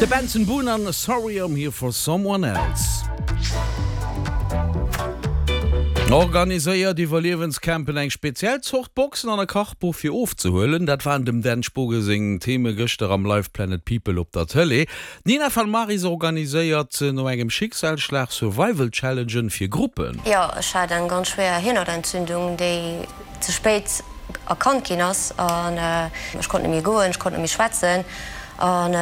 De Benson Boone an Sorry I'm Here For Someone Else. Organiséiert Iwwerliewenscampen, eng speziell Zort Boxen an e Kachbuch fir ofzehuelen, dat waren dem Dan Spogen seng Theme gëschter am Live Planet People op der Tëlee. D'Nina van Maris organiséiert no engem Schicksalsschlag Survival Challengen fir Gruppen. Jo, ech hat eng ganz schwéier Hirnhautentzündung, déi ze spéit erkannt ginn ass an ech konnt net méi goen, ech konnt net méi schwätzen an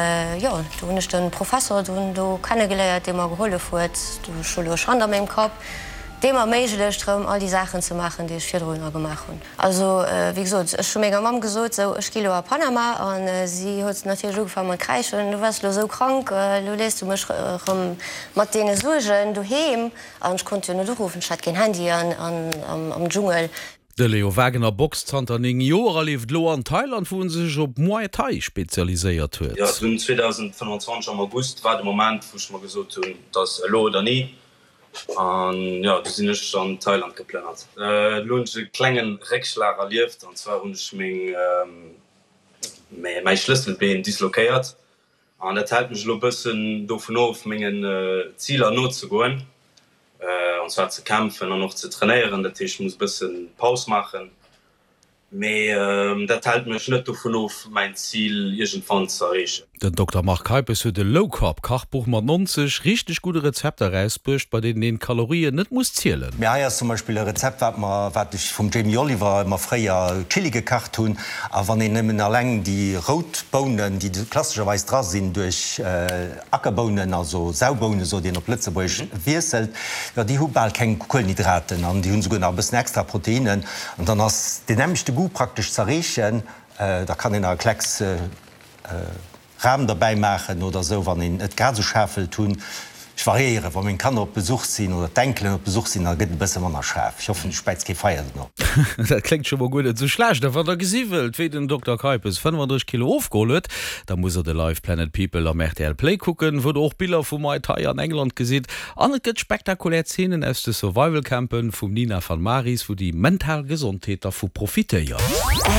jo, do hunn ech de Professor dunn do kennegeléiert, dee mer gehollef huet. Ech hu lo e Schand a mengem Kapp, dee mer erméiglecht rëm all déi Saachen ze maachen, déi ech virdrunner gemaach hunn. Also wéi gesot, ech hu menger Mamm gesot, sou ech gi lo a Panama an si huet natierlech ugefaangen mat kräischen, du waars lo sou krank, lo léiss du mech rëm mat deene Suergen doheem an ech konnt jo net uruffen, ech hat keen Handy am Dschungel. De Leo Wagener boxt zanter 9 Joer a lieft elo an Thailand, wou en sech op Muay Thai spezialiséiert huet. Jo, dunn 2025 am August war de Moment, wou ech mer gesot hunn, et ass elo oder ni. An jo, du sinn ech an Thailand geplënnert. Elo hunn ech e klengen Réckschlag erlieft, an zwar hunn ech meng mäi Schlësselbeen disloquéiert an dat hält mech elo bëssen dovun of mengen Ziler nozegoen, an zwar ze kämpfen an och ze trainéieren. Dat heescht, ech muss e bëssen Paus maachen. Mee dat hält mech net dovun of, mäin Zil iergendwann ze erreechen. Den Dokter Marc Keipes huet e Low-Carb Kachbuch mat 90 richteg gudde Rezepter erausbruecht, bei deenen een d'Kalorien net muss zielen. Mee hei ass zum Beispill e Rezept, wat mer, wat ech vum Jamie Oliver ëmmer fréier Chili gekacht hunn. A wann een nëmmen alleng déi rout Bounen, déi klassescherweis dra sinn, duerch Ackerbounen, also Saubounen sot een op Lëtzebuergesch, wiesselt, jo déi hu bal keng Kuelenhydraten an déi hunn esouguer nach e bëssen extra Proteinnen an dann ass deen nämmlechte Goût praktesch z'erreechen. Da kann een nach e Klecks Ram derbäi maachen oder esou, wann een et grad esou schaarf wëllt hunn. Ech variéieren, wa meng Kanner op Besuch sinn oder d'Enkelen op Besuch sinn, da gëtt et e bësse manner schaarf. Ech hoffen, ech späiz kee Feier dono. Dat kléngt scho mol guer net esou schlecht. A wann der gesi wëllt, wéi den Dokter Keipes 35 Kilo ofgeholl huet, Da musst der de Live Planet People am rtl Play kucken, wou der och Biller vu Muay Thai an England gesitt. An et gëtt spektakulär Zeenen aus de Survival Campen vum Nina van Maris, wou déi mental Gesondheet dervu profitéiert.